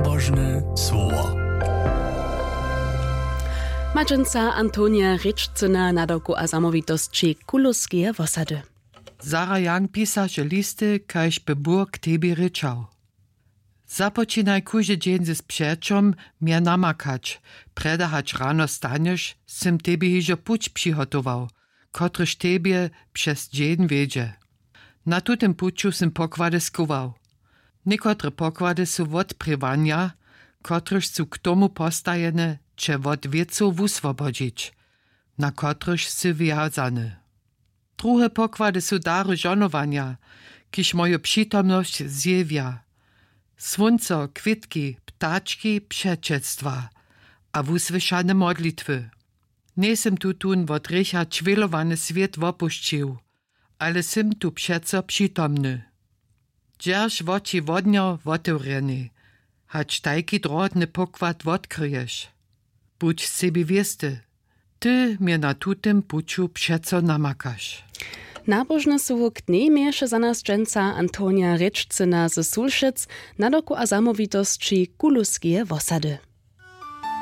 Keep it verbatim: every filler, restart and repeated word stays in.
Nabožne słowo. Maćenca Antonija Rěčcyna, nadawku a zamołwitosći Kuluskeje wosady. Zara Jang pisaše listy, kaž by Bóh k tebi rěčał. Započinaj kóždy dźeń z přećom mje namakać. Prjedy hač rano stanješ, sym tebi hižo puć přihotował, kotryž tebje přez dźeń wjedźe. Na tutym puću sym pokłady schował. Někotre pokłady su wotprěwanja, kotryž su k tomu postajene, će wot wěcow wuswobodźić, na kotryž sy wjazany. Druhe pokłady su dary žohnowanja, kiž moju přitomnosć zjewja. Słónco, kwětki, ptački, přećelstwa a wusłyšane modlitwy. Njejsym tutón wot hrěcha čwělowany swět wopušćił, ale sym tu přeco přitomny. Dźerž woči wodnjo wotewrjenej, hač tajki drohotny pokład wotkryješ. Budź sebi wěsty, ty mje na tutym puću přeco namakaš. Nabožne słowo k dnjej měješe za nas dźensa Antonija Rěčcyna ze Sulšec, nadawku a zamołwitosći Kuluskeje wosady.